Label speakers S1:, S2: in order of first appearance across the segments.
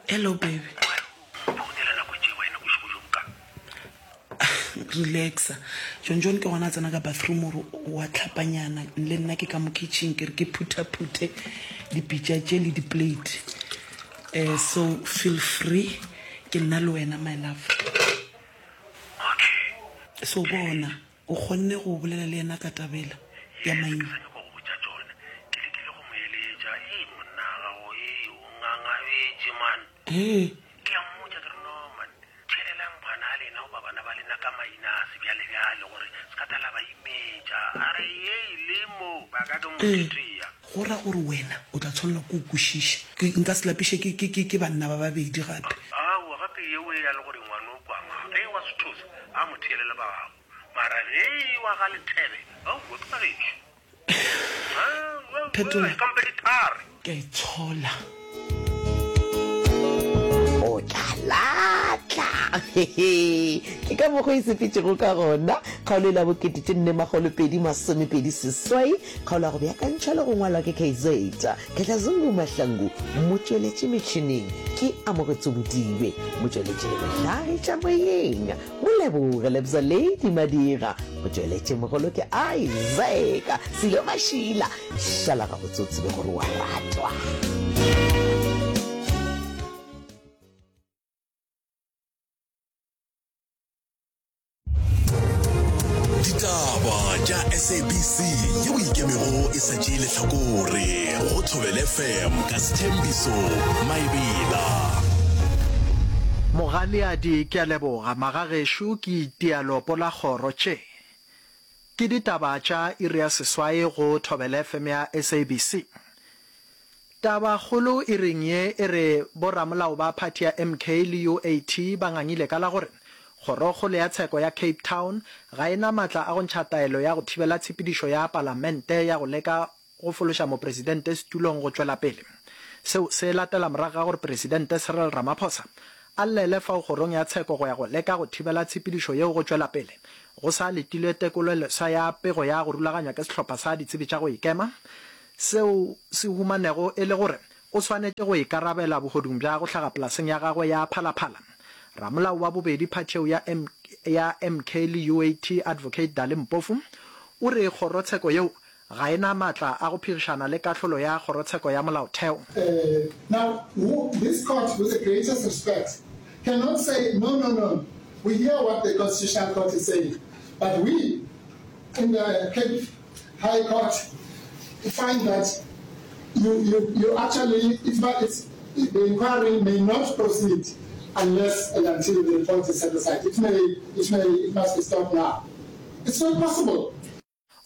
S1: Hello baby.
S2: Mphounela nako tše wena bošego bjo boka.
S1: Relaxa. John John ke gona a tsena ka bathroom gore wa tlhapanyana le nna ke ka mo kitchen ke re ke phuthaphuthe dipitša tše le di-plate. Eh, so feel free ke nna le wena my love.
S2: Okay.
S1: So bona O kgonne go bolela le yena ka taba yela ya
S2: Yes, ke
S1: maina?
S2: sa nyaka go botša tšona. Ke lekile go mo eletša. Ei, monna wa gago, ei, o ngangabetše, man.
S1: Hee.
S2: Ke a mmotša ke re, No, man, theelelang bana a lena goba bana ba lena ka maina a sebjalebjale gore se ka tla la ba imetša. A re, Ei, le mo, ba ka ke mo
S1: Ee,
S2: tetea.
S1: go ra gore wena o tla tshwanelwa ke go kwešiša. Ke, nka se lapiše ke, ke, ke, ke banna ba babedi gape.
S2: Aowa, gape yeo e ya le gore ngwano o kwang. Ge wa Sethosa, a mo theelele ba gagwe. Mara ge e wa ga Lethebe, aowa ke ba gešo.
S1: Phetola.
S2: Kampe di thare.
S1: Ke a itshola.
S3: O tla latla. Ke ka mokgo e sepetšego ka gona. Kgaolo e la bokete tše nne makgolo pedi masomepedi seswai, kgaolo ya go beakantšhwa le go ngwalwa ke KZ Khehlazungu Mahlangu, motšweletši metšhineng ke Amogetso Bodibe, motšweletši le mohlagiša moyeng Moleboge Lebza Lady Madira, motšweletšimogolo ke Isaac Silo Mašila. Šala gabotse o tsebe gore wa ratwa.
S4: Ditaba tša SABC yeo ikemego e sa tšee lehlakore go Thobela FM ka Sthembiso Maebela.
S5: Mogaleadi ke a leboga magagešo ke itia leopo la kgoro tše ke ditaba tša iri ya seswai go Thobela FM ya SABC. Taba kgolo iring ye e re boramolao ba phathi ya MK le UAT ba ngangile ka la gore Kgorokgolo ya Tsheko ya Cape Town ga e na matla a go ntšha taelo ya go thibela tshepedišo ya palamente ya go leka go fološa mopresidente setulong go tšwela pele. Seo se latela morago ga gore Presidente Cyril Ramaphosa a llele fao kgorong ya tsheko go ya go leka go thibela tshepedišo yeo go tšwela pele go sa letilwe tekoleleswa ya pego ya go rulaganywa ke sehlopha sa ditsebi tša go ikema seo se humanego e le gore o swanetše go ikarabela bohodung bja go hlaga polaseng ya gagwe ya Phalaphala. Ramolao wa bobedi phatheo ya ya MK le UAT Advocate Dali Mpofu o re kgorotsheko yeo ga e na matla a go phegišana le kahlolo ya kgorotsheko ya molaotheo.
S6: Now, this court, with the greatest respect, cannot say, no, no, no, we hear what the Constitutional Court is saying, but we in the Cape High Court find that you, you, you actually, it's, it's, the inquiry may not proceed unless and until the report is set aside. It may, it may, it must be stopped now. It's not possible.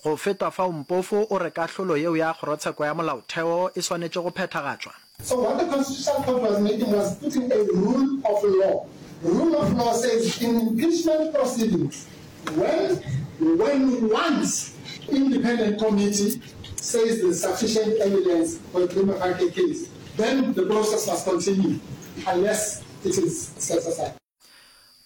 S5: Go feta fao Mpofu o re kahlolo yeo ya Kgorotsheko ya Molaotheo e swanetše go phethagatšwa.
S6: So what the Constitutional Court was making was putting a rule of law. Rule of law says in impeachment proceedings, when, when once independent committee says there's sufficient evidence for a prima facie case, then the process must continue unless it is set aside.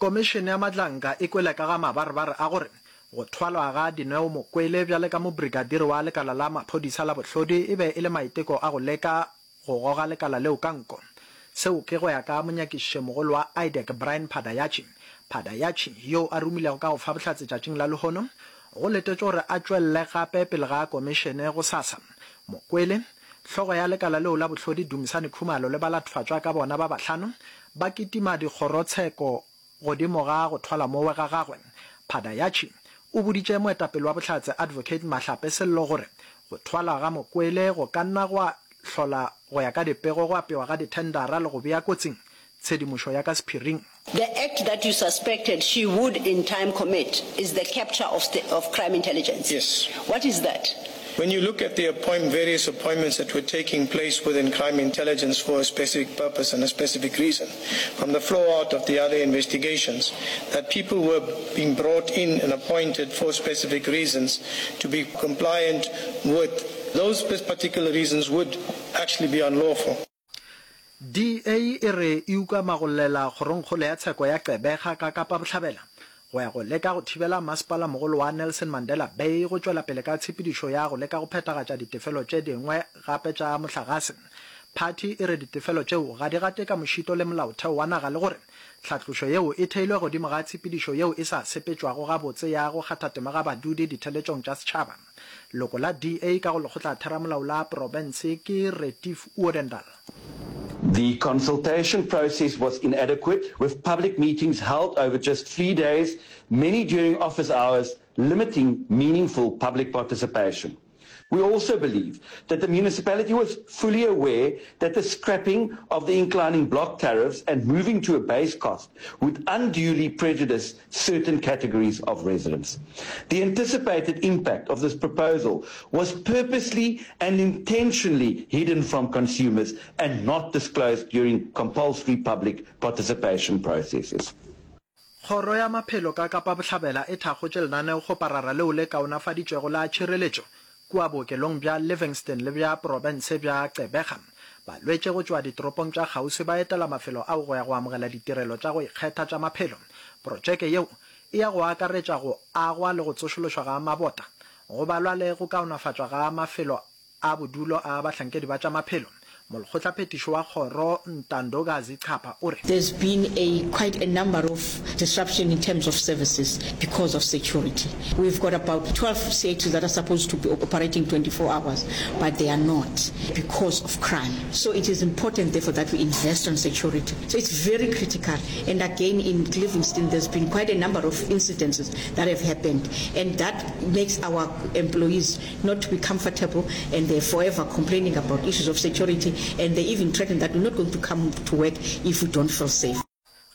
S5: Komišene ya Madlanka e kwele ka ga mabarebare a gore go thwalwa ga Dineo Mokwele bjale ka mobrigadier wa lekala la maphodisa la bohlodi e be e le maiteko a go leka go goga lekala leo ka nko. Seo ke go ya ka monyakišišemogolo wa IDAC Brian Padayachy. Padayachy, yoo a rumilego ka go fa bohlatse tšatšing la lehono, go letetšwe gore a tšwelele gape pele ga komišene gosasa. Mokwele, Hlogo ya lekala leo la bohlodi Dumisani Khumalo le balatfatšwa ka bona ba bahlano ba kitima dikgorotsheko godimo ga go thwala mowe ga gagwe. Padayachy o boditše moetapele wa bohlatse Advocate Mahlape Sello gore go thwala ga Mokwele go ka nna gwa hlola go ya ka dipego go apewa ga dithendara le go bea kotsing tshedimošo ya ka sephiring.
S7: The act that you suspected she would in time commit is the capture of, of crime intelligence.
S8: Yes.
S7: What is that?
S8: When you look at the appoint, various appointments that were taking place within crime intelligence for a specific purpose and a specific reason, from the flow out of the other investigations, that people were being brought in and appointed for specific reasons to be compliant with those particular reasons would actually be unlawful.
S5: DA e re e ukama go llela Kgorongkgolo ya Tsheko ya Gqeberha ka Kapa Bohlabela go ya go leka go thibela Masepalamogolo wa Nelson Mandela Bay go tšwela pele ka tshepedišo ya go leka go phethagatša ditefelo tše dingwe gape tša mohlagase. Phathi e re ditefelo tšeo ga di gate ka mošito le molaotheo wa naga le gore tlhatlošo yeo e theilwe godimo ga tshepedišo yeo e sa sepetšwago gabotse ya go kgatha tema ga badudi ditheletšong tša setšhaba. Loko la DA ka go lekgotlatheramolao la profense ke Retief Odendaal.
S9: The consultation process was inadequate, with public meetings held over just three days, many during office hours, limiting meaningful public participation. We also believe that the municipality was fully aware that the scrapping of the inclining block tariffs and moving to a base cost would unduly prejudice certain categories of residents. The anticipated impact of this proposal was purposely and intentionally hidden from consumers and not disclosed during compulsory public participation processes.
S5: Kgoro ya Maphelo ka Kapa Bohlabela e thakgotše lenaneokgoparara leo le kaonafaditšwego la tšhireletšo kua bookelong bja Livingston le bja profense bja Gqeberha. Balwetši go tšwa ditoropong tša kgauswi ba etela mafelo ao go ya go amogela ditirelo tša go ikgetha tša maphelo. Protšeke yeo e ya go akaretša go agwa le go tsošološwa ga mabota, go balwa le go kaonafatšwa ga mafelo a bodulo a bahlankedi ba tša maphelo. Molekgotlaphethiši wa kgoro Ntandokazi Capa o re.
S10: There's been a quite a number of disruption in terms of services because of security. We've got about 12 CHs that are supposed to be operating 24 hours, but they are not because of crime. So it is important therefore that we invest on security. So it's very critical. And again in Livingstone there's been quite a number of incidences that have happened and that makes our employees not to be comfortable and they're forever complaining about issues of security and they even threaten that we're not going to come to work if we don't feel safe.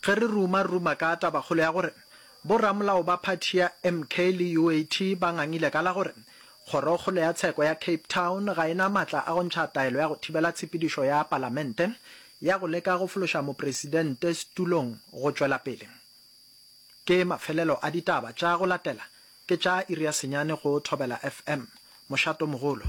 S5: Ge re ruma-ruma ka tabakgolo ya gore boramolao ba phathi ya MK le UAT ba ngangile ka la gore Kgorokgolo ya Tsheko ya Cape Town ga e na matla a go ntšha taelo ya go thibela tshepedišo ya palamente ya go leka go fološa mopresidente setulong go tšwela pele. Ke mafelelo a ditaba tša go latela ke tša iri ya senyane go Thobela FM. Mošato mogolo.